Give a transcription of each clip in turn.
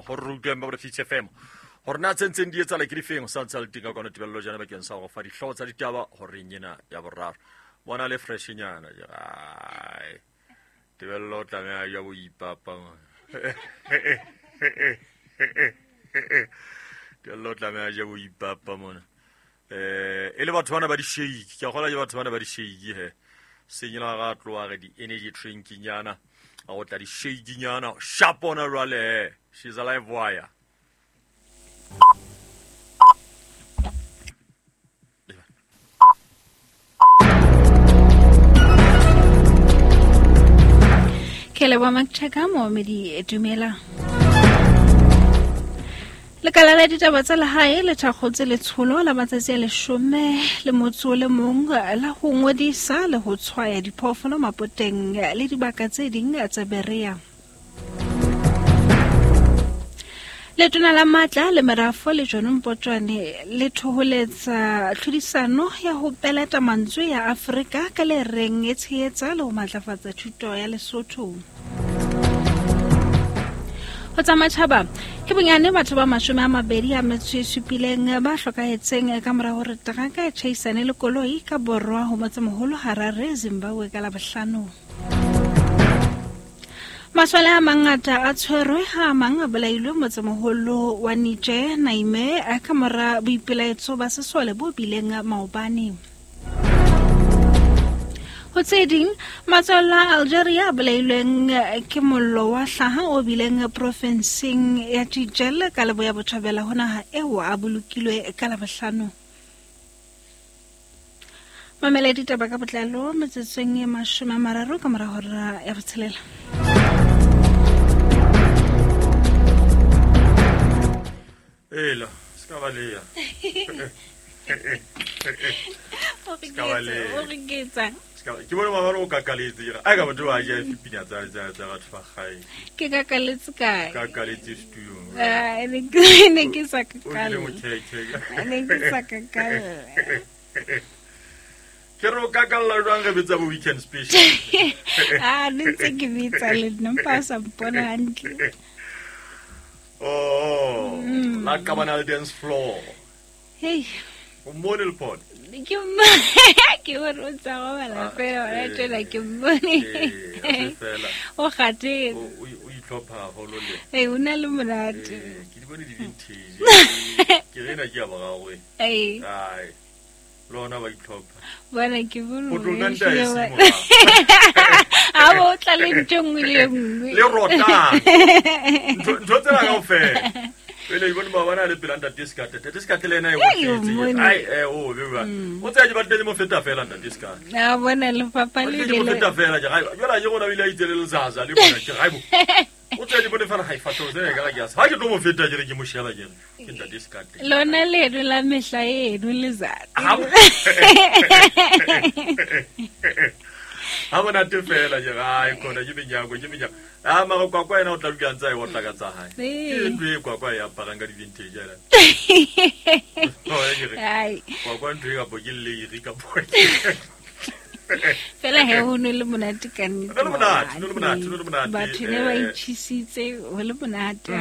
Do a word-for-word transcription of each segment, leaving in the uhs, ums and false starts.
Gore re utlweng ba Fish F M. Gore na tse ntseng di etsahala ke difeng, o sa ntse a le teng ka kwana Tebello jana bakeng sa go fa dihlooho tsa ditaba horeng ena ya boraro. Bona le freshenyana ai. Tebello o tlameha ya boipapa. Tebello o tlameha ya boipapa mona. Eh e le batho bana ba di-shake, ke a kgolwa ke batho bana ba di-shake he. Senyela ga tloa re di-energy drinking nyana, a go tla di-shake nyana, sharp ona jwale. She's alive wire. Ke leboha Machaka Mohamedi dumela. Lekala la ditaba tsa lehae le thakgotse letsholo la matsatsi a leshome le motso o le mong la ho ngodisa le ho tshwaya diphoofolo mapoteng le dibaka tse ding tsa Berea. Letona la matla le merafo le John Mpotjwane le thoholetsa tlhodisano ya ho peleta mantswe ya Afrika ka le reng e tshehetsa le ho matlafatsa thuto ya Lesotho. Ho tsa matjhaba ke bonyane batho ba mashome a mabedi a metso e supileng ba hlokahetseng ka mora hore teraka e tjhaisane le koloi ka borwa ho motsemoholo Harare, Zimbabwe ka Labohlano. Masole a mangata a tshwerwe ha a mang a bolailwe motsemoholo wa Niger, Niamey, ka mora boipelaetso ba sesole bo bileng maobane. Ho tse ding, matswalla a Algeria a bolailweng ke mollo wa hlaha o bileng profenseng ya Jijel ka leboya botjhabela ho naha eo a bolokilwe ka Labohlano. Mamela ditaba ka botlalo metsotsong e mashome a mararo ka mora hora ya botshelela. Ela, ska balea. Ska balea. Ke bona ba o kakaletse ke ai ka batho ba ja fipina tsa tsa tsa batho ba gae. Ke kakaletse kae? Kakaletse studio. Ah, ne ke ne ke sa kakale. Ne ke sa kakale. Ke ro kakalla jwang re betsa bo weekend special. Ah, ne ntse ke bitsa le nna mpa sa mpona hantle. Oh, la kabana dance floor. Hey. O model pod. Ke ke o rotsa go bala fela wa tshela ke mmone. O gate. O o itlhopha haholo le. Eh, o na le monate. Ke di bone di vintage. Ke rena ke ya ba gagwe. Eh. Ai. Lona ba itlhopha. Bona ke bone. O tlo nna e se mo. A bo tla le ntho nngwe le nngwe. Le rota. Ntho tsena kaofela. Pele ibone ba bana le pela ntate Skate. Ntate Skate le ena e botletse. Ai eh o be ba. O tsaya ke batle mo feta fela ntate Skate. Na bona le papa le le mo feta fela ke ga. Jwala ke gona bile a itse le lezaza le bona ke ga bo. O tsaya di bone fela ga e fatho tsena ka ga ke asa. Ha ke tlo mo feta ke re ke mo sheba ke re ke ntate Skate. Lona le eno la mehla eno lezatsi. Ha bona te fela ke ga e khona ke menyako ke menyako. Ah mara kwa kwa ena o tla dula ntse a e otla ka tsa hae. Ke ntho e kwa kwa e aparang ka di-vintage ena. Ai. Kwa kwa ntho e kapo ke leiri kapo. Fela he ho no le monate ka nnete. Le monate, le monate, le monate. Batho ne ba itjhisitse ho le monate.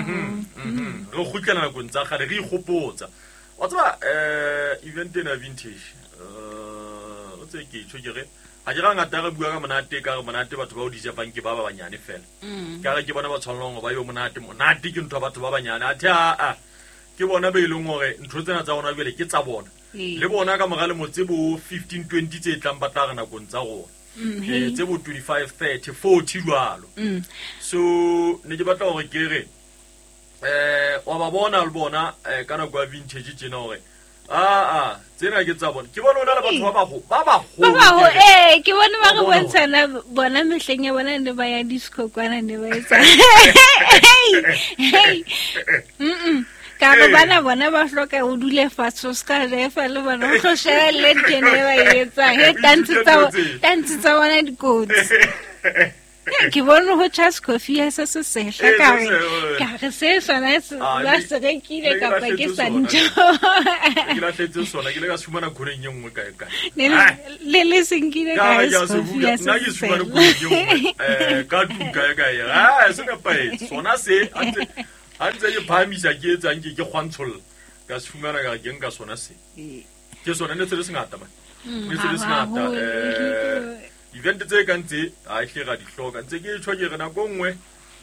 Re kgutlela nakong tsa kgale re ikgopotsa. Wa tseba eh event ena vintage. Eh o tse ke tjho ke re ha ke ga ngata re bua ka monate ka re monate batho ba o dija banke ba ba banyane fela. Ka re ke bona ba tshwanelong ba yo monate monate ke ntho batho ba banyane athe a a ke bona be ileng hore ntho tsena tsa bona jwale ke tsa bona. Le bona ka mora le motse bo fifteen twenty tse tlang ba tla re nakong tsa rona. Eh tse bo twenty-five thirty forty jwalo. So ne ke batla hore ke re eh wa ba bona le bona ka nako ya vintage tjena hore ah ah tsena ke tsa bona ke bona ona le batho ba bago ba bago ba bago eh ke bona ba re bontshana bona mehleng ya bona ne ba ya disco kwana ne ba etsa hey hey mm ka re bana bona ba hloka o dule fatshe o ska refa le bona o tlo sheba le tene ba etsa he dance tsa dance tsa bona dikotsi. Ke bone ho Charles Coffee ya se se sehla ka re ka re se sona se ba se rekile kapa ke sa ntho. Ke lahletse sona ke le ka fumana khoneng e nngwe kae kae. Le le senkile ka se ya se ke fumana khoneng e nngwe eh ka tlung kae kae. Ah se nepahetse sona se ante Ha ntse ke phahamisa ke etsang ke ke kgwantsholla ka se fumana ka ke nka sona se ke sona ne se le sengata man ne se le sengata eh event tse kang tse ha e hle ra di hloka ntse ke tjho ke re nako nngwe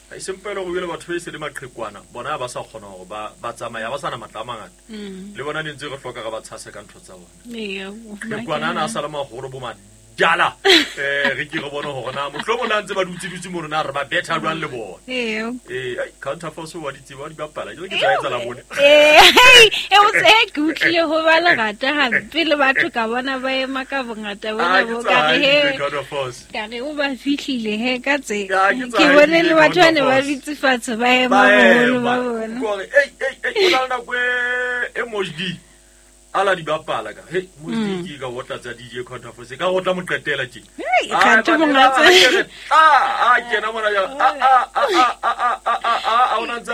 ha e sempela go bile batho ba se le maqhekwana bona ba sa kgona hore ba ba tsamaya ba sana matla a mangata le bona ne ntse re hloka re ba tshase ka ntho tsa bona qhekwana ana a sala mahoro bo madala eh re ke re bone hore na mohlomong la ntse ba dutse dutse mo rona re ba better jwang le bona eh eh counter force wa di tseba di bapala ke tsa etsa la bone eh e o tse ke utlile ho ba lerata hampe le batho ka bona ba ema ka bongata bona bo ka re he ka re o ba fihlile he ka tse ke bone le batho ba ne ba ditse fatshe ba ema boholo ba bona gore ei ei ei o na le nako e Mojdi ala di bapala ka he Mojdi ke ka wotla tsa D J counter force ka go tla mo qetela tje ka tlo mongatse a a kena mona ya a a a a a a a a ona ntse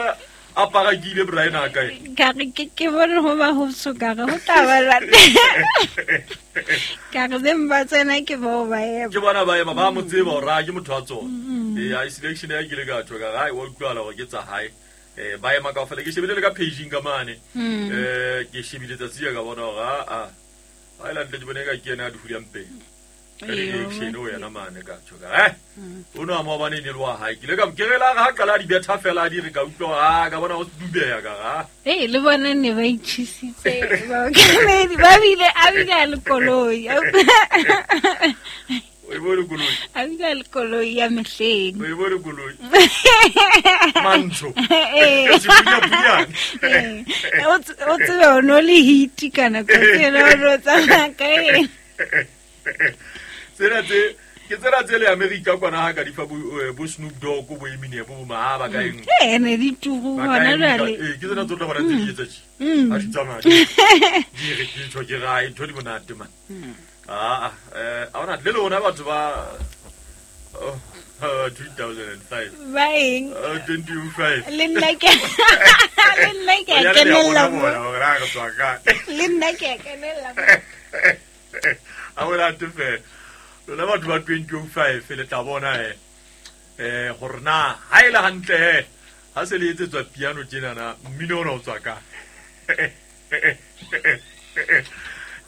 a parakile Brian a kae ka re ke ke bone ho ba ho so ka re ho tla ba la ka re beng ba tsena ke bo ba ema ke bona ba ema ba mo tseba hore a ke motho wa tsona eh a selection ya ke le ka tho ka ga wa utlwala hore ke tsa hae eh ba ema kaofela ke shebile le ka paging ka mane eh ke shebile tsatsi ya ka bona hore a a a ila ntle ke bone ka ke ena a di hulang pele ka di-action o yena mane ka tjho ka eh o no mo bane ne le wa hae ke le ka ke re la ha qala di betha fela di re ka utlwa ha ka bona o dubeya ka ga eh le bona ne ba itjhisitse ba ba bile a bile le koloi o e bone koloi a bile le koloi ya mehleng o e bone koloi mantsho eh o tsebe o no le hit kana ko tsena o no tsamaya ka eng tsena tse ke tsena tse le America kwana ha ka di fa bo bo Snoop Dogg bo Eminem bo ma ba ka eng eh ne di tugu hona jwale eh ke tsena tsotle bona tse di etsa tje ha di tsamaya di re ke tjho ke ra ntho di monate man ah eh a ona le lona batho ba two thousand five ba eng twenty-five le nna ke le nna ke kenella mo le nna ke kenella a wela te fe lona batho ba twenty-five le tla bona eh eh gore na ha ile hantle he ha se le etsetswa piano tjena na mmino ona o tswa ka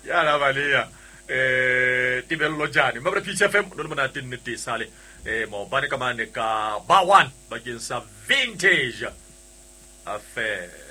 ya la balea eh Tebello Jane mabra P F M lo le monate nnete sale eh maobane ka mane ka ba one bakeng sa vintage affair.